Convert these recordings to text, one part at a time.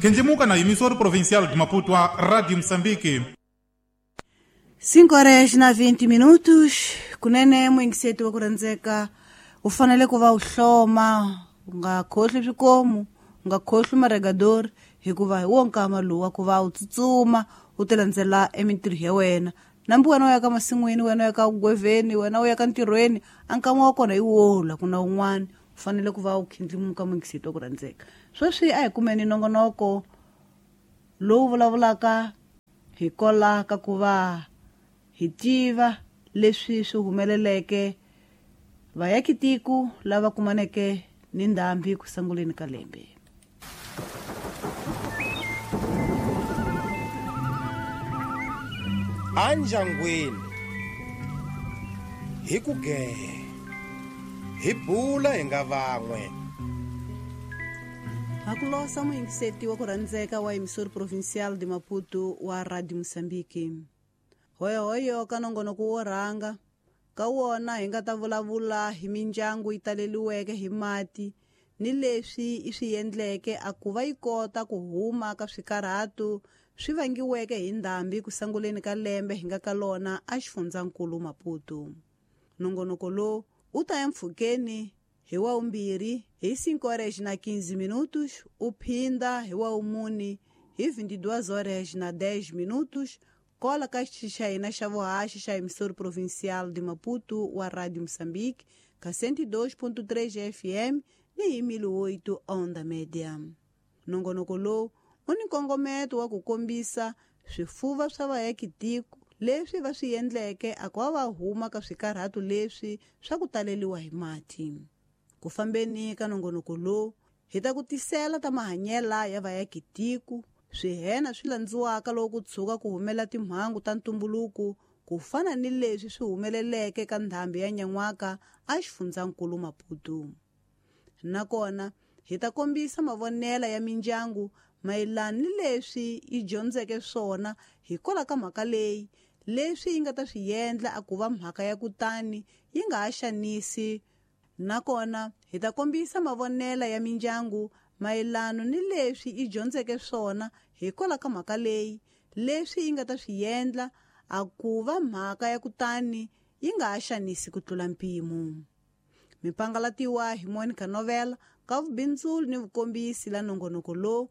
Khendlimuka na emissora provincial de Maputo a Rádio Moçambique. 5 horas na 20 minutos kunene muyingiseti wa ku rhandzeka u fanele ku va u hloma u nga khohli swikomu u nga khohli maregadori hikuva hi wo nkama lowu wa ku va u tsutsuma u ti landzela emintirho ya wena nambi wena u ya ka masin'wini wena u ya ka gweveni wena u ya ka ntirhweni a nkama wa kona hi wola ku na wun'wana u fanele ku va u khindlimuka muyingiseti wa ku rhandzeka sweswi a hi kumeni nongonoko lowu vulavulaka hi kola ka ku va hi tiva leswi swi humeleleke vayakitiko lava kumaneke ni ndhambi ku sunguleni ka lembe. Anjangwini hi ku gehe hi bula hi nga van'we. Hakulosa muyingiseti wa ku rhandzeka wa emissora provincial de Maputo wa Radio Moçambique. Hoyohoyo ka nongonoko wo rhanga ka wona hi nga ta vulavula hi mindyangu yi taleliweke hi mati ni leswi i swi endleke a ku va yi kota ku huma ka swikarhato swi vangiweke hi ndhambi ku sunguleni ka lembe hi nga ka lona a xifundzankulu Maputo. Nongonoko lowu u ta ya mpfhukeni hi wa 2 hi 5 horas na 15 minutos u phinda hi wa 4 hi 22 horas na 10 minutos kola ka xitichi xa hina xa vuhaxi xa emissora provincial de Maputo wa Radio Moçambique ka 102.3 FM ni hi 1008 onda média. Nongonoko lowu u ni nkongometo wa ku kombisa swifuva swa vayakitiko leswi va swi endleke a ku va va huma ka swikarhato leswi swa ku taleliwa hi mati. Ku fambeni ka nongonoko lowu hi ta ku tisela ta mahanyela ya vayakitiko swihena swi landziwaka loko ku tshuka ku humela timhangu ta ntumbuluko ku fana ni leswi swi humeleleke ka ndhambi ya nyan'waka a xifundzankulu Maputo. Nakona hi ta kombisa mavonela ya mindyangu mayelana ni leswi yi dyondzeke swona hikwalaho ka mhaka leyi leswi yi nga ta swi endla a ku va mhaka ya kutani yi nga ha xanisi. Nakona hi ta kombisa mavonela ya mindyangu mayelana ni leswi yi dyondzeke swona hikwalaho ka mhaka leyi leswi yi nga ta swi endla a ku va mhaka ya kutani yi nga ha xanisi ku tlula mpimo. Mipangalatiwa hi Monica Novela ka vubindzuli ni vukombisi la nongonoko lowu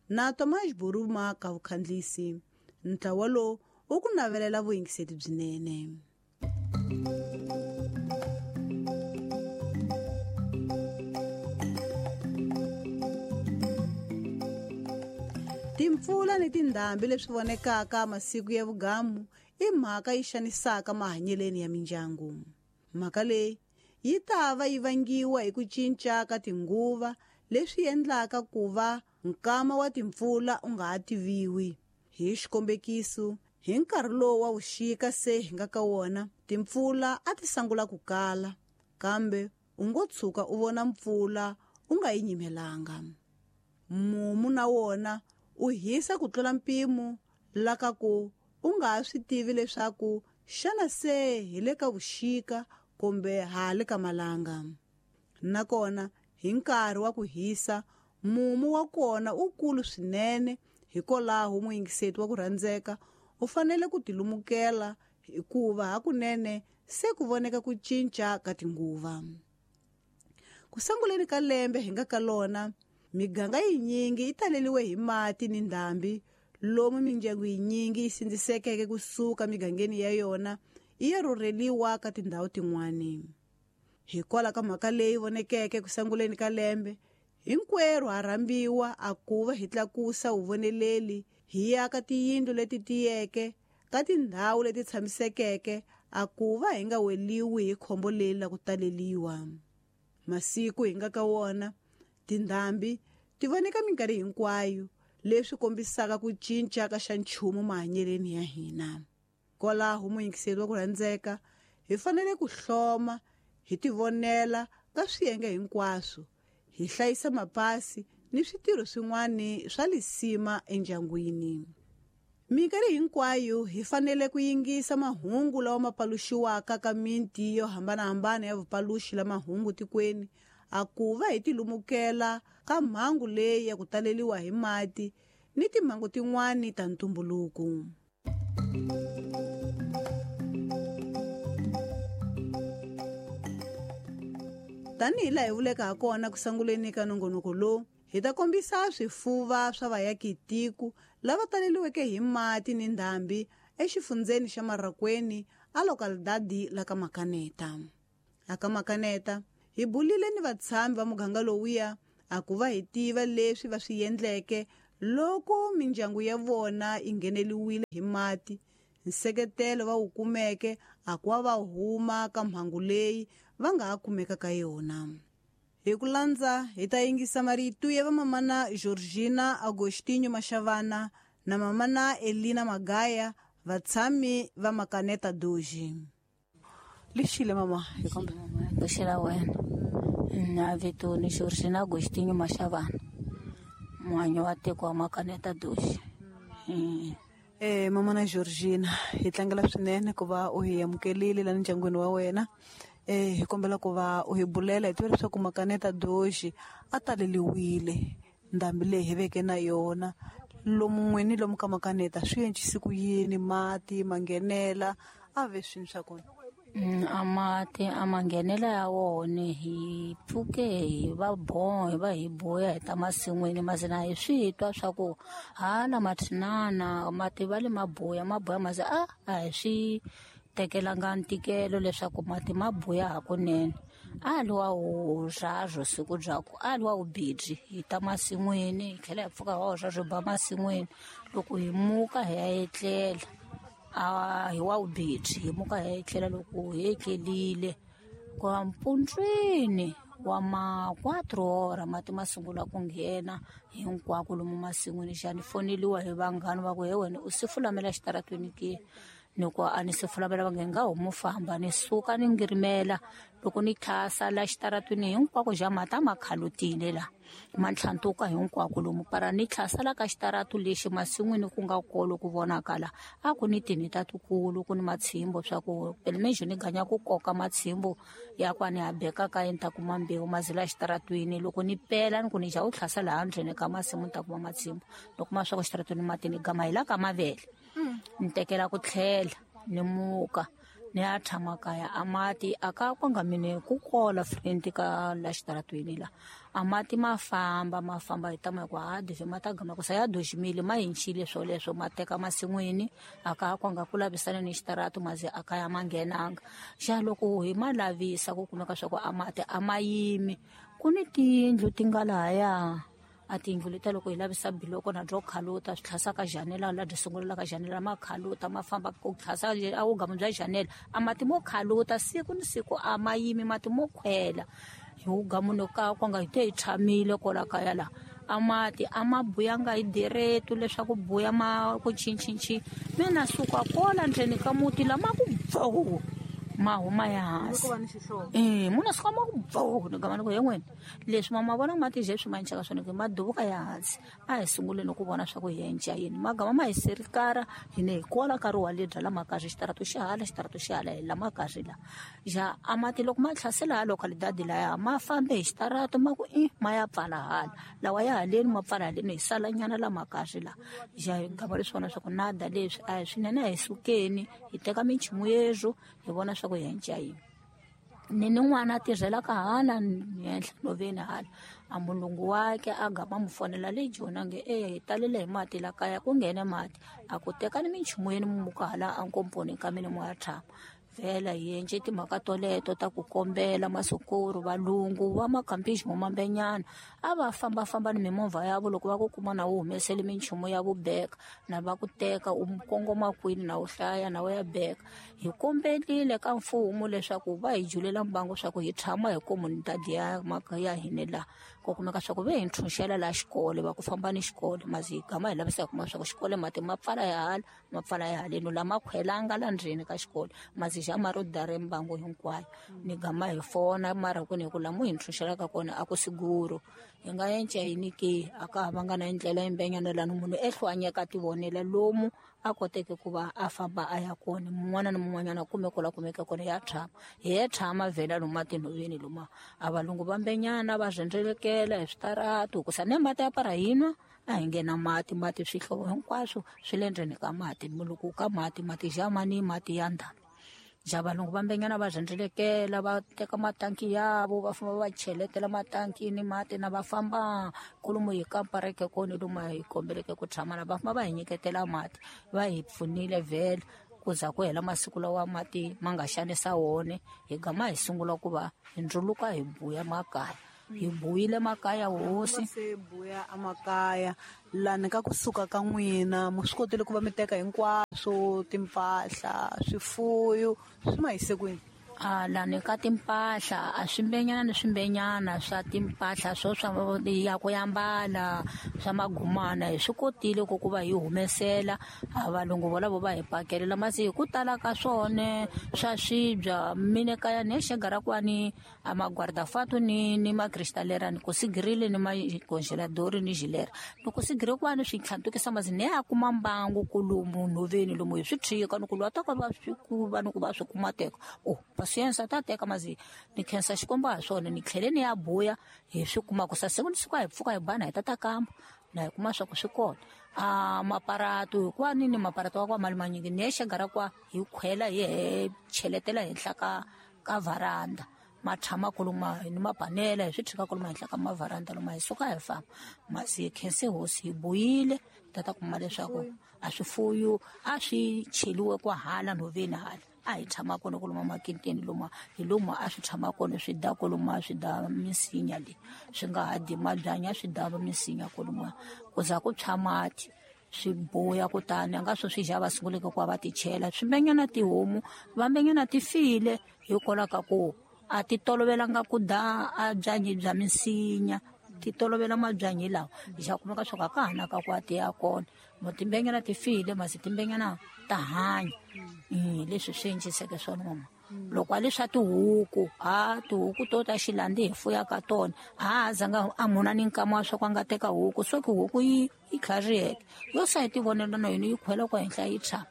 na Tomas Buruma ka vukhandlisi. Ntlawa lowu u ku navelela vuyingiseti byinene. Timpfula ni tindhambi leswi vonekaka masiku ya vugamu i mhaka yi xanisaka mahanyeleni ya mindyangu. Mhaka leyi yi ta va yi vangiwa hi ku cinca ka tinguva leswi endlaka ku va nkama wa timpfula u nga ha tiviwi. Hi xikombekiso, hi nkarhi lowu wa vuxika se hi nga ka wona, timpfula a ti sungula ku kala, kambe u ngo tshuka u vona mpfula u nga yi nyimelanga. Mumu na wona u hisa ku tlula mpimo la ka ku u nga ha swi tivi leswaku xana se hi le ka vuxika kumbe ha le ka malanga. Nakona hi nkarhi wa ku hisa mumu wa kona u kulu swinene, hikwalaho muyingiseti wa ku rhandzeka u fanele ku tilumukela hikuva hakunene se ku voneka ku cinca ka tinguva. Ku sunguleni ka lembe hi nga ka lona miganga yinyingi yi taleliwe hi mati ni ndhambi lomu mindyangu yinyingi yi sindzisekeke kusuka migangeni ya yona yi ya rhurheliwa ka tindhawu tin'wani. Hikwalaho ka mhaka leyi vonekeke ku sunguleni ka lembe hinkwerhu ha rhambiwa a ku va hi tlakusa vuvoneleli hi ya ka tiyindlu leti tiyeke ka tindhawu leti tshamisekeke a ku va hi nga weliwi hi khombo leri la ku taleliwa. Masiku hi nga ka wona tindhambi ti voneka minkarhi hinkwayo leswi kombisaka ku cinca ka xa nchumu mahanyeleni ya hina. Kwalaho muyingiseri wa ku rhandzeka hi fanele ku hloma hi tivonela ka swiyenge hinkwaswo hi hlayisa mapasi ni switirho swin'wana swa lisima endyangwini. Minkarhi hinkwayo hi fanele ku yingisa mahungu lawa ma paluxiwaka ka miti yo hambanahambana ya vupaluxi la mahungu tikweni a ku va hi tilumukela ka mhangu leyi ya ku taleliwa hi mati ni timhangu tin'wani ta ntumbuluko. Tanihi laha hi vuleke hakona ku sunguleni ka nongonoko lowu, hi ta kombisa swifuva swa vayakitiko lava taleliweke hi mati ni ndhambi exifundzeni xa Marracuene a localidade la ka Makaneta. Aka Makaneta hi bulile ni vatshami va muganga lowuya a ku va hi tiva leswi va swi endleke loko mindyangu ya vona yi ngheneliwile hi mati, nseketelo va wu kumeke a ku va huma ka mhangu leyi va nga ha kumeka ka yona. Hi ku landza hi ta yingisa marito ya vamamana Georgina Agostinho Mashavana na mamana Elina Magaya, vatshami va Makaneta Doji. Lexile mama, hi kombela lexila wena. Na vito ni Georgina Agostinho Mashavana, muhanyi wa tiko wa Makaneta Doji. Mama na Georgina, hi tlangela swinene ku va u hi amukelile la ndyangwini wa wena. Hi kombela ku va u hi bulela hi tiva leswaku Makaneta Doji a taleliwile ndhambi leyi hi veke na yona lomu n'wini lomu ka Makaneta swi encise ku yini, mati ma nghenela a ve swini swa kona? A mati a ma nghenela ya wona hi pfuke hi va hi va hi boya hi ta masin'wini mazina hi swi twa swa ku hala mathinana mati va le maboya maboya maze a hi swi tekelanga ntikelo leswaku mati ma boya hakunene. A liwa wu rhazho siku byaku a liwa wu bidzi hi ta masin'wini hi tlhela hi pfuka wa rhazho ba masin'wini loko hi muka hi ya etlela a hi wa wu bidzi hi muka hi ya etlela loko hi etlelile kwa mpundzwini wa ma 4 hora mati ma sungula ku nghena hinkwako lomu masin'wini. Xani foneliwa hi vanghana va ku he wena u sifulamela xitaratweni ke? Ni ku a ni sifulamela va nge nga homu famba ni suka ni ngirimela loko ni tlhasa la xitaratweni hinkwako xa mati a ma khalutile la ma ntlhantuka hinkwako lomu para ni tlhasa la ka xitaratu lexi masin'wini ku nga kolo ku vonakala a ku ni tinhita tikulu ku ni matshimbo swa ku pelemexo ni ganya ku koka matshimbo ya ku a ni ha beka ka ni ta kuma mbewu mazila xitaratwini loko ni pela ni ku ni xa u tlhasa laha ndzeni ka masimu ni ta kuma matshimbo loko ma swa ku xitaratwini mati ni gama hi la ka mavele ni tekela ku tlhela ni muka ni ya tshama kaya a mati a ka kwanga mine ku kola friend ka la xitaratwini la a mati ma famba hi tama ku ha dive ma ta gama ku sa ya doximile ma hinchile swoleswo ma teka masin'wini a ka kwanga ku lavisana ni xitaratu maze a ka ya ma nghenanga xa loko hi ma lavisa ku kumeka swa ku a mati a ma yimi ku ni tiyindlu ti nga lahaya a tiyindlu leta loko hi lavisa biloko na byo khaluta swi tlhasa ka janela la byi sungulela ka janela ma khaluta ma famba ku tlhasa a vugamu bya janela a mati mo khaluta siku ni siku a ma yimi mati mo khwela hi vugamuni ka kwanga hi te hi tshamile kwala kaya la a mati a ma buyanga hi direto leswaku buya ma ku chinchinchi mina suka kola ndzeni ka muti lama ku bvo ma huma ya hansi muna suka ma ku bvo ni gama ni ku he n'wini leswi ma vona mati je swi manchaka swona ke ma duvuka ya hansi a hi sunguleni ku vona swa ku hi enca yini magama ma hi serikara hi ne hi kola nkarhi wa le bya la makazi xitarato xi hala xitarato xi hala hi la makazi la ja a mati loko ma tlhasela localidade laya ma fambe hi xitarato ma ku i ma ya pfala hala lawa ya haleni ma pfala haleni hi salanyana la makazi la ja hi gama leswi vona swa ku nada leswi a hi swinene a hi sukeni hi teka minchumu yezwo hi vona swa ku hi enca yini ni ni n'wana a tirhelaka hala henhla nhoveni hala a mulungu wakhe a gama mu fonela le joni a nge e hi talele hi mati la kaya ku nghene mati a ku tekani minchumu yeni muka hala a nkomponi ka mina mu ya tshama vhela hi endle timhaka toleto ta ku kombela masukuru valungu va makhampixi mo mambenyana a va fambafamba ni mimovha yavo loko va ku kuma na wu humesele minchumu ya vubeka na va ku teka u kongoma kwini na wu hlaya na wu ya beka hi kombelile ka mfumo leswaku va hi julela mbangu swa ku hi tshama hi komunidadi ya ya hina la ku kumeka swa ku ve hi ntshunxela la xikolo va ku famba ni xikolo mazi hi gama hi lavisa hi kuma swa ku xikolo mati ma pfala ya hala ma pfala ya haleni lama khwelanga la ndzeni ka xikolo mazi xa maro dare mbangu hinkwayo ni gama hi fona mara ku ni ku lamu hi ntshunxelaka kona a ku siguro hi nga enca yini ke a ka ha vanga na ndlela yimbenyana lani munhu ehlwanyeka tivonela lomu a koteke ku va a famba a ya kona mun'wana na mun'wanyana kume ko la kumeke kona ya tshama hi ya tshama vhela lomu matinhoveni loma a valungu va mbenyana va rhendzelekela hi switaratu ku sa ne mati ya para hinwa a hi nghena mati mati swihlovo hinkwaswo swi le ndzeni ka mati loko ka mati mati jamani mati ya ndhambi ja valungu va mbenyana va rhendzelekela va teka matanki yavo va famba va cheletela matankini mati na va famba kolomu hi kampareke kona lomu hi kombeleke ku tshama na va famba va hi nyiketela mati va hi pfunile vhele ku za ku hela masiku lawa mati ma nga xanisa wona hi gama hi sungula ku va hi ndzuluka hi buya makaya hi buyile makaya hosi se buya amakaya lani ka kusuka ka n'wina mu swi kotile ku va mi teka hinkwaswo timpahla swifuyo swi ma yise kwini? A lani ka timpahla a swimbenyana ni swimbenyana swa timpahla swo swa ya ku yambala swa magumana hi swi kotile ku va hi humesela a valungu volavo va hi pakelela masi hi ku tala ka swona swa swibya mine kaya ni xegara kwani a magwardafatu ni makristalera ni ku sigirile ni macongeladori ni gilera loko sigire kwani swi tlhantukisa masi ni ya kuma mbangu kulumu nhoveni lomu hi swi tshika ni ku lwa ta ka va swi ku va ni ku va swi kuma teka o pasiensa ta teka mazi ni khensa xikwembu ha swona ni tlhele ni ya buya hi swi kuma ku sasiku ni siku a hi pfuka hi bana hi tata kamba na hi kuma swa ku swi kona a maparato hikuva ni maparato wa kwa mali manyingi ni ya xegara kwa hi khwela hi cheletela henhla ka varanda ma tshama kuluma ni mapanela hi swi tshika kuluma henhla ka mavaranda loma hi suka hi famba masi hi khense hosi hi buyile tata kuma leswaku a swifuyo a swi cheliwe kwa hala nhoveni hala a hi tshama kona kuluma makinteni loma hi lomu a swi tshama kona swi da kuluma swi da misinya leyi swi nga ha di mabyanya swi da misinya kuluma ku za ku tshwa mati swi buya kutani a nga swo swi ja va sunguleke ku va ti chela swimbenyana tihomu vambenyana ti file hikwalaho ka ku a ti tolovelanga ku da a byanyi bya misinya ti tolovela mabyanyi lawa ja kumeka swo ka ka hana ka ku a ti ya kona timbenyana ti file masi timbenyana ta hanya leswi swi endliseke swona mama loko a leswa tihuku a tihuku to ta xilandi hi fuyaka tona a zanga a muna ni nkama wa swa ku a nga teka huku so ki huku yi tlhariheke yo sa hi ti vonela na yona yi khwela kwa henhla yi tshama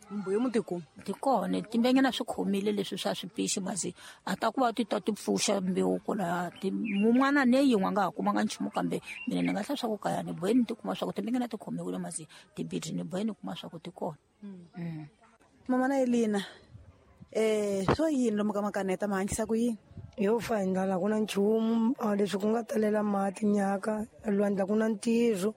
mbuyo mutiku ti kona timbenyana swi khomile leswi swa swipixi masi a ta ku va ti ta ti pfuxa mbewu kwala mun'wana ne yin'we a nga ha kumanga nchumu kambe mina ni nga hla swa ku kaya ni boheni ti kuma swa ku timbenyana ti khomiwile masi tibidi ni boheni kuma swa ku ti kona. Mama na Elina swo yini lomu ka makaneta ma hanyisa ku yini? Yo fa hi ndlala ku na nchumu leswi ku nga talela mati nyaka lwandla ku na ntirho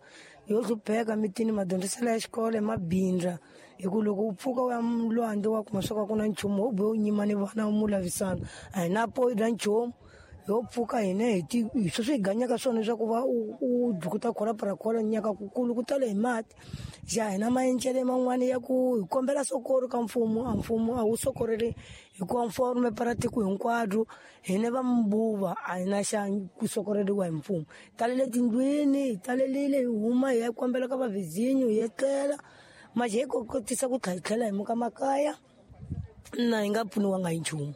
yo hlupheka mitini madyondziselo ya xikolo hi mabindza hi ku loko u pfuka u ya lwandle wa kuma swa ku na nchumu wo bohe u nyima ni vana u mu lavisana a hi na po na nchumu yo pfuka hina hi ti sweswi hi ganyaka swona leswaku va u dukuta khola parakhola nyaka kukulu ku tala hi mati ja hina maencele man'wani ya ku hi kombela sokoro ka mfumo a mfumo a wu sokoreli hikuva mfumo para tiko hinkwaro hina va mbuva a hi na xa ku sokoreliwa hi mfumo talele tindlwini hi talelile hi huma hi ya kombela ka vavhizinyo hi etlela maje hi kotisa ku tlhela hi muka makaya na hi nga pfuniwanga hi nchumu.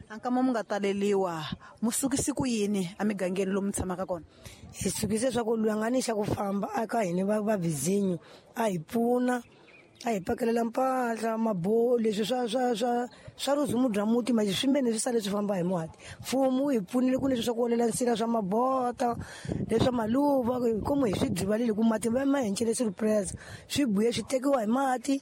Ankama mu nga taleliwa mu sukisi ku yini emigangeni lomu tshamaka kona? Hi sukise swa ku loyi a nga ni xa ku famba aka hina vavhizinyo a hi pfuna a hi pakelela mpahla mabo leswi swa swa swa swa ruzumu bya muti manje swimbeni swi sale swi famba hi mati mfumo wu hi pfunile ku leswi swa ku olela nsila swa mabota leswa maluva komu hi swi drivalile ku mati va ma hencele surprise swi buye swi tekiwa hi mati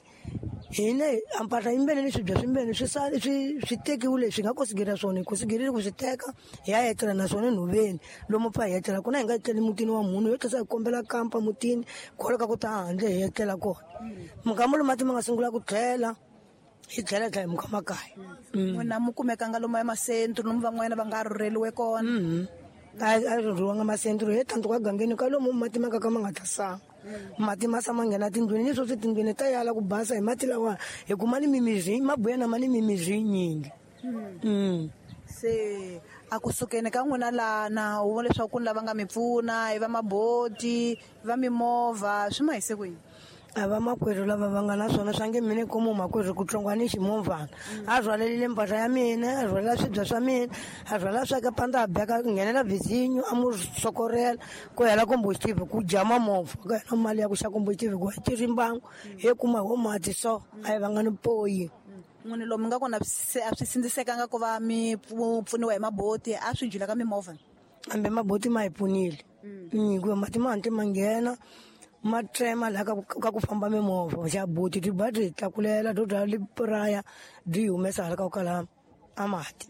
hina a mpahla yimbele ni swibya swimbeni swi sale swi tekiwile swi nga kosigela swona hi kosigerile ku swi teka hi ya etlela naswona nhoveni lomu pfa hi etlela kona hi nga etleli mutini wa munhu yo tlhela hi kombela kampa mutini kwala ka ku ta handle hi etlela kona mukamba lomu mati ma nga sungula ku tlhela hi tlhela tlhela hi muka makaya. N'wina mu kumekanga lomu emasentru lomu van'wana va nga rhurheliwe kona? A rhurhiwanga masentru hi tantu ka gangeni ka lomu mati ma ka ka ma nga ta sanga mati ma sama nghena tindlwini ni sweswi tindlwini ta yala ku basa hi mati lawa hi kuma ni mimiri mabuya na ma ni mimiri yinyingi. Se a kusukeni ka n'wina lana u vona leswaku ku ni lava nga mi pfuna hi va maboti va mimovha swi ma hise kwini? A va makwerhu lava va nga na swona swa nge mina komu makwerhu ku tsongwani ximovhana a rhwalelile mpahla ya mina, a rhwalela swibya swa mina, a rhwalela swa ka panda, a beka nghenela vhizinyo, a mu sokorela ku hela komboxitive ku jama movha ku hela mali ya ku xa komboxitive ku tirhi mbangu he kuma ho mati so a hi vanga ni poyi. N'wini lomu nga kona se a swi sindzisekanga ku va mi pfuniwa hi maboti, a swi jula ka mimovha? Hambi maboti ma hi pfunile hikuva mati ma hantle ma nghena ma tsema laha ka ku famba mimovha xa boti ti ba ti tlakulela to dya lipuraya byi humesa hala ka ku kala a mati.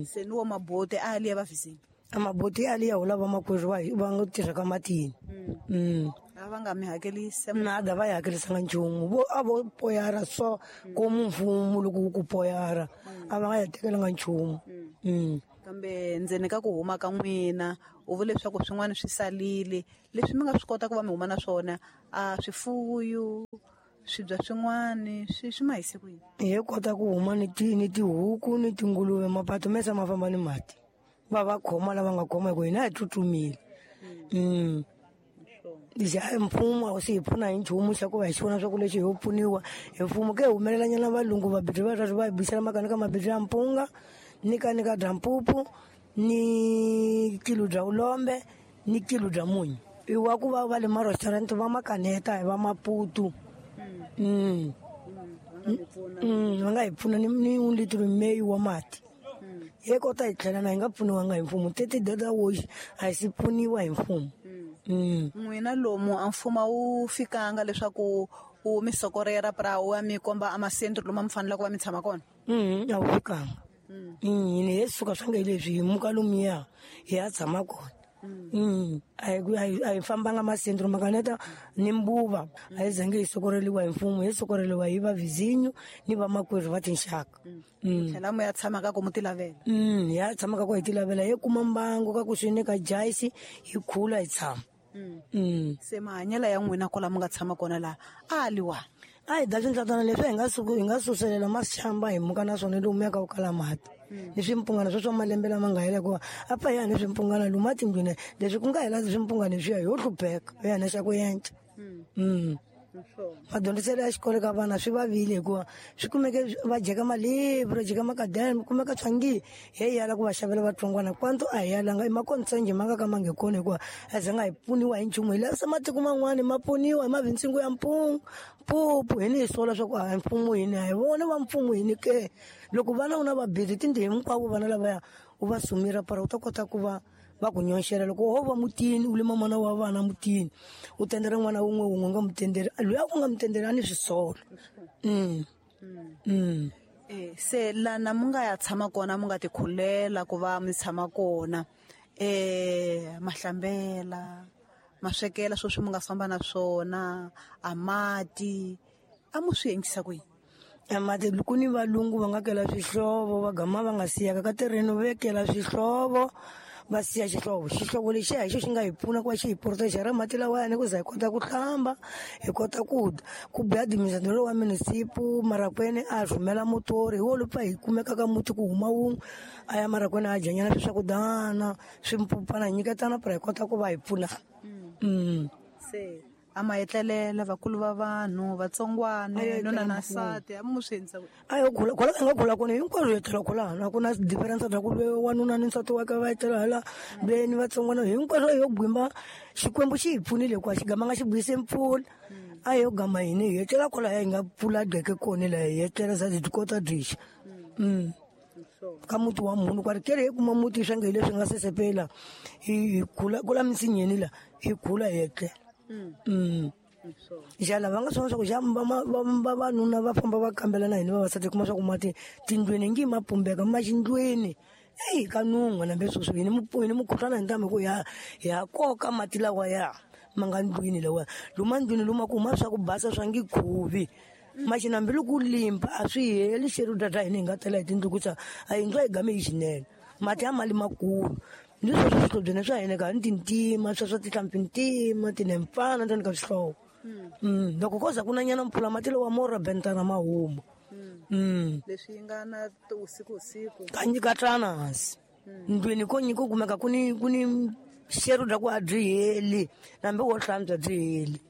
Se ni wo maboti a liya va vhizini? A maboti a liya hula va makwerhu va nga tirha ka matini. A va nga mi hakelisi? Nada, va yi hakelisanga nchumu. Vo a vo poyara so komu mfumo loko wu ku poyara a va nga yi tekelanga nchumu. Kambe ndzeni ka ku huma ka n'wina u vule leswaku swin'wana swi salile leswi mi nga swi kota ku va mi huma na swona, a swifuyo swibya swin'wana swi ma hise kwini? Hi kota ku huma ni tihuku ni tinguluve, mapato mesa ma famba ni mati va va khoma lava nga khoma hi ku hina hi tsutsumile. Xa mfumo a wu se hi pfuna hi nchumu xa ku va hi xi vona swa ku lexi ho pfuniwa hi mfumo ke humelelanyana valungu vabirhi va va hi bisela makani ka mabirhi ya mpunga ni ka ni ka bya mpupu ni kilo bya ulombe ni kilo bya munyu i wa ku va va le ma-restaurant va makaneta hi va Maputo. Va nga hi pfuna ni un litro meyi wa mati hi kota hi tlhela na hi nga pfuniwanga hi mfumo teti data woxi a hi si pfuniwa hi mfumo. N'wina lomu a mfumo wu fikanga leswaku u mi sokorera pra u ya mi komba a masentro lomu mi faneleke ku va mi tshama kona? A wu fikanga. Hina hi suka swa nge leswi hi muka lomuya hi ya tshama kona. A hi fambanga masentro makaneta ni mbuva a hi zange hi sokoreliwa hi mfumo, hi sokoreliwa hi va vizinyo ni vamakwerhu va tinxaka. Tlhela mu ya tshama ka ku mu ti lavela? Hi ya tshama ka ku hi ti lavela, hi kuma mbangu ka ku swi ni ka jayisi hi khula hi tshama. Se mahanyelo ya n'wina kwala mi nga tshama kona laha a liwa? A hi da swindlatana leswi hi nga suselela masixamba hi muka na swona lomu ya ka ku kala mati ni swimpungana swo swa malembe lama nga hela hikuva a pfa hi ya ni swimpungana lomu atindlwini leswi ku nga hela swimpungana leswiya ho hlupheka hi ya na xa ku yenca. Madyondziselo ya xikolo ka vana swi vavile hikuva swi kumeke va jeka malebvu va jeka makadeni kumeka swangi hi yala ku va xavela vatsongwana kwanto a hi yalanga i makonsenje ma nga ka ma nge kona hikuva a zanga hi pfuniwa hi nchumu hi lavisa matiko man'wani ma pfuniwa hi mavintsingo ya mpungu mpupu hi ni hi sola swa ku a mfumo hini a hi vona va mfumo hini ke loko vana u na vabirhi tindlu hinkwavo vana lavaya u va sumira para u ta kota ku va va ku nyonxela loko ho va mutini u lima n'wana wa vana mutini u tendela n'wana wun'we wun'we nga mutendeli loyi a ku nga mutendeli a ni swisolo. Se lana mi nga ya tshama kona mi nga ti khulela ku va mi tshama kona mahlambela maswekela swo swi mi nga famba na swona a mati a mu swi endlisa ku yini? Mati ku ni valungu va nga kela swihlovo va gama va nga siyaka ka terreno vekela swihlovo va siya xihlovo xihlovo lexiya hi xo xi nga hi pfuna ku va xi hi proteja ra mati lawayani ku za hi kota ku hlamba hi kota ku dya ku biha administrator wa munisipu Marakwene a rhumela motori hi wo lowu pfa hi kumeka ka muti ku huma wun'we a ya Marakwene a dyanyana swi swakudana swimpupana hi nyiketana pra hi kota ku va hi pfunana. Se a ma etlelela vakulu va vanhu vatsongwana nuna na nsati a mu swi endlisa a yo khula khula nga khula kona hinkwaswo hi etlela khulana a ku na difference bya ku loyi wanuna ni nsati wa ka va etlela hala veni vatsongwana hinkwaswo yo gwimba Xikwembu xi hi pfunile hikuva xi gama nga xi buyise mpfula a yo gama hini hi etlela kwalaya hi nga pfula gqeke kona laha hi etlela za byi kota byixa. Ka muti wa munhu kwari kele hi kuma muti swa nge hi leswi nga sesepela hi khula kula misinyeni la hi khula hi etlela. Xana va nga swona swa ku xa vavanuna va famba va kambela na hina vavasati kuma swa ku mati tindlwini ngi ma pumbeka ma xindlwini eyi ka nun'hwa nambe sweswi hini hini mukhuhlwana hi ntamu hi ku ya koka mati lawa ya ma nga ndlwini lawa luma ndlwini luma ku huma swa ku basa swa ngi khuvi maxi nambi loko limpa a swi heli xerhu data hina hi nga tela hi tindlu ku sa a yindlu a yi game hi xinene mati ya mali makulu ni sweswo swihlobyeni swa hina ka ni tintima swa swa tihlampfi ntima tinempfana ndzeni ka swihlovo. Loko ko za ku na nyana mpfula mati lawa mo robentana ma huma. Leswi yi nga na usiku usiku ka tlana hansi ndlwini ko nyiko kumeka ku ni xerhu bya ku a byi heli nambi wo hlantswa byi heli.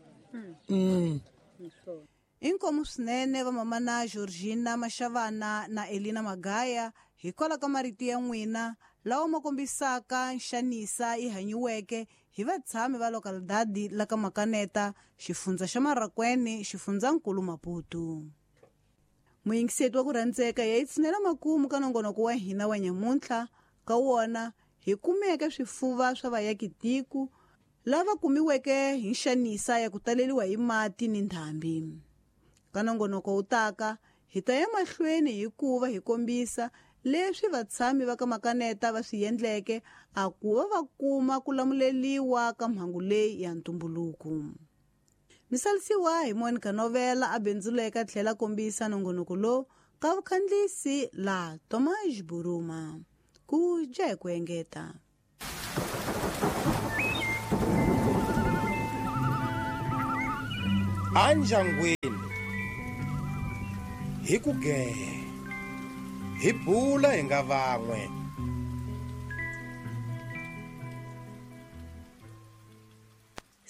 Inkomu swinene vamamana Georgina Mashavana na Elina Magaya hikwalaho ka marito ya n'wina lawa ma kombisaka nxanisa yi hanyiweke hi vatshami va lokalidadi la ka Makaneta, xifundza xa Marracuene, xifundzankulu Maputo. Muyingiseti wa ku rhandzeka ya yi tshinela makumu ka nongonoko wa hina wa nyamuntlha. Ka wona hi kumeke swifuva swa vayakitiko lava kumiweke hi nxanisa ya ku taleriwa hi mati ni ndhambi. Ka nongonoko wu taka hi ta ya mahlweni hikuva hi kombisa leswi vatshami va ka Makaneta va swi endleke a ku va va kuma ku lamuleliwa ka mhangu leyi ya ntumbuluko. Misalisiwa hi Monica Novela a bindzuleka tlhela kombisa nongonoko lowu ka vukhandlisi la Tomás Buruma. Ku dya hi ku engeta. Anjangwini hi ku gehe hi bula hi nga van'we.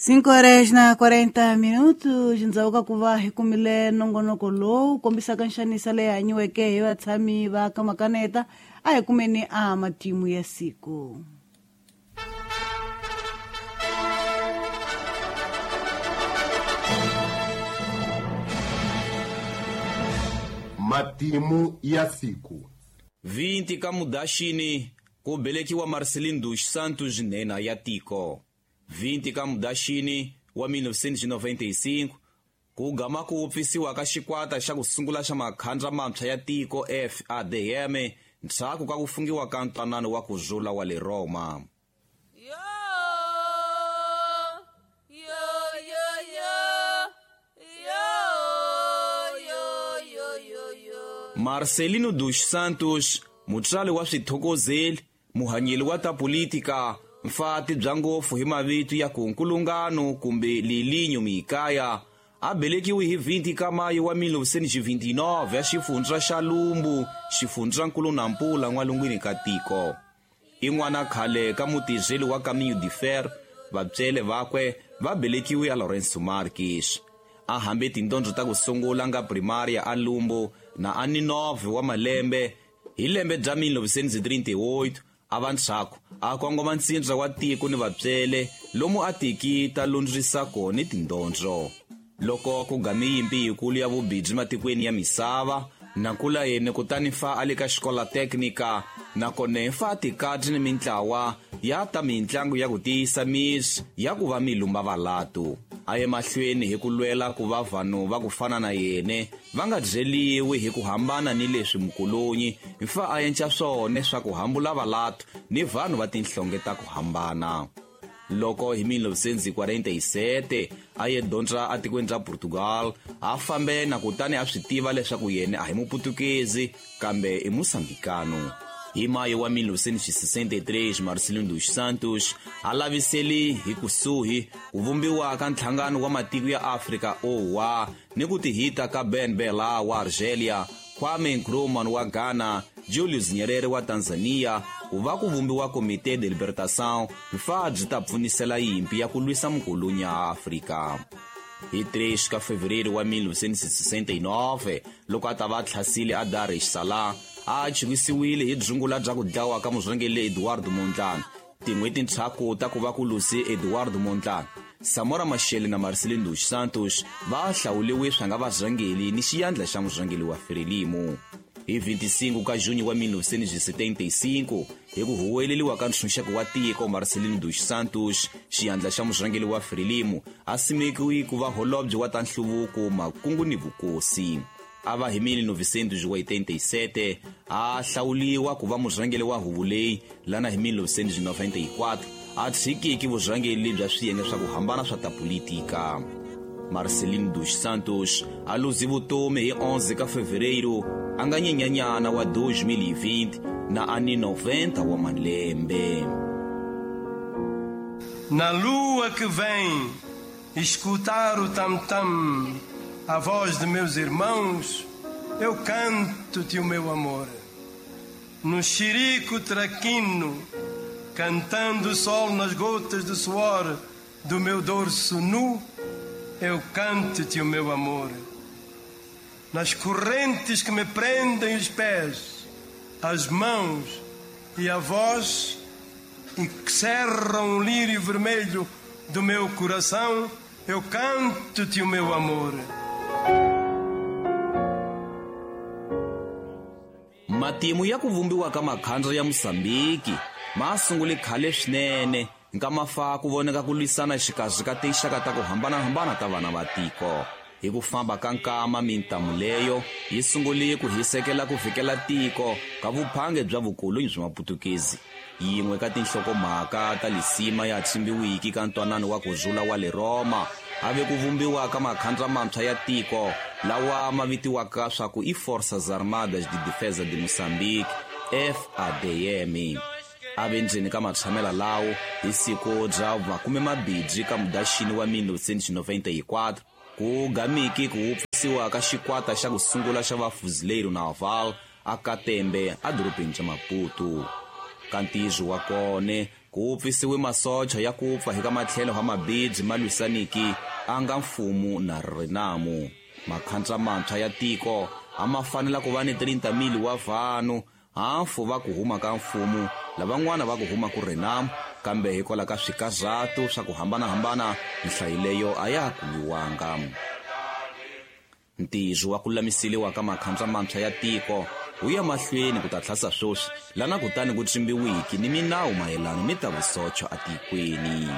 5:40 ndzhaku ka ku va hi kumile nongonoko lowu kombisaka nxanisa leyi hanyiweke hi vatshami va ka Makaneta, a hi kumeni a matimu ya siku. Matimu ya siku. 20 ka Mudaxini ku belekiwa Marcelino dos Santos nhenha ya tiko. 20 ka Mudaxini wa 1995 ku gama ku wupfisiwa ka xikwata xa ku sungula xa makhandla mantshwa ya tiko FADM ndzhaku ka ku fungiwa ka ntwanano wa ku rhula wa le Roma. Marcelino dos Santos, mutswari wa swithokozeli, muhanyeli wa ta politika, mfati bya ngopfu hi mavito ya ku nkulungano kumbe Lilinho Mikaya, a belekiwe hi 20 ka Mayo wa 1929 ya xifundza xa Lumbu, xifundzankulu Nampula n'walungwini ka tiko. I n'wana khale ka mutirheli wa Caminho de Ferro, vatswele vakwe va belekiwe a Lourenço Marques. A hambe tindondzo ta ku sungula nga primaria a Lumbu na a ni 9 wa malembe. Hi lembe bya 1938 a va ntshaku a kongoma ntsindza wa tiko ni vatswele lomu a tiki ta lundzisa kona tindondzo. Loko ku game yimpi yikulu ya vubindzu matikweni ya misava, na kula yena kutani fa a le ka xikola teknika, nakona fa tikati ni mintlawa ya ta mintlangu ya ku tiyisa misi ya ku va milumba valatu. A ye mahlweni hi ku lwela ku va vanhu va ku fana na yena va nga byeliwi hi ku hambana ni leswi mukolonyi fa a enca swona swa ku hambula valatu ni vanhu va tinhlonge ta ku hambana. Loko hi 1947 a ye dondza atikweni ra Portugal, a fambe na kutani a swi tiva leswaku yena a hi muputukezi kambe i musambikano. Hi Mayo wa 1963 Marcelino dos Santos a laviseli hi kusuhi ku vumbiwa ka nhlangano wa matiko ya Afrika OA ni ku tihita ka Ben Bella wa Argelia, Kwame Nkrumah wa Ghana, Julius Nyerere wa Tanzania, ku va ku vumbiwa Comité de Libertação fa byi ta pfunisela yimpi ya ku lwisa mukulunya a Afrika. Hi 3 ka Fevereiro wa 1969 loko a ta va tlhasile a Dar es Salaam, a chivisiwile hi dzungula bya ku dlawa ka murhangeri Eduardo Mondlane. Tin'hweti ntshaku ta ku va ku luse Eduardo Mondlane, Samora Machel na Marcelino dos Santos va hlawuliwe swa nga varhangeri ni xiyandla xa murhangeri wa Frelimo. Hi 25 ka Junho wa 1975 hi ku huweleliwa ka ntshunxeko wa tiko, Marcelino dos Santos, xiyandla xa murhangeri wa Frelimo, a simekiwe ku va holobye wa ta nhluvuko, makungu ni vukosi. A va hi 1987 a hlawuliwa ku va murhangeri wa huvo leyi lana hi 1994 a tshikiki vurhangeri bya swiyenge swa ku hambana swa ta politika. Marcelino dos Santos a luzi vutomi hi 11 ka Fevereiro a nga nyenyanyana wa 2020 na a ni 90 wa malembe. Na lua que vem escutar o tam-tam, a voz de meus irmãos, eu canto-te o meu amor. No xirico traquino, cantando o sol nas gotas de suor do meu dorso nu, eu canto-te o meu amor. Nas correntes que me prendem os pés, as mãos e a voz, e que cerram o lírio vermelho do meu coração, eu canto-te o meu amor. Matimu ya ku vumbiwa ka makhandla ya Mozambique ma sungule khale swinene nkama fa ku voneka ku lwisana xikarhi ka tinxaka ta ku hambanahambana ta vana va tiko. Hi ku famba ka nkama mintamu leyo yi sungule ku hisekela ku fikela tiko ka vuphange bya vukolonyi bya Maputukezi. Yin'we ka tinhlokomhaka ta lisima ya tshimbiwiki ka ntwanano wa kurhula wa le Roma a ve ku vumbiwa ka makhandla mantshwa ya tiko lawa ma vitiwaka swa ku i Forças Armadas de Defesa de Moçambique, FADM. A ve ndzeni ka matshamela lawo hi siku bya 20 ka Mudaxini wa 1994 ku gamiki ku wupfisiwa ka xikwata xa ku sungula xa vafuzileiro naval a Katembe a dorobeni bya Maputo. Ka ntizo wa kone ku wupfisiwe masocha ya ku pfa hi ka matlhelo ha mabidzi ma lwisaniki a nga mfumo na Renamo. Makhandla mantshwa ya tiko a ma fanela ku va ni 30,000 wa vanhu, hafu va ku huma ka mfumo, lavan'wana va ku huma ku Renamo, kambe hikwalaho ka swikazatu swa ku hambanahambana nhlayo leyo a ya ha kumiwanga. Ntizo wa ku lulamiseliwa ka makhandla mantshwa ya tiko wu ya mahlweni ku ta tlhasa sweswi lana kutani ku tsimbiwiki ni minawu mayelana ni ta vusocho atikweni.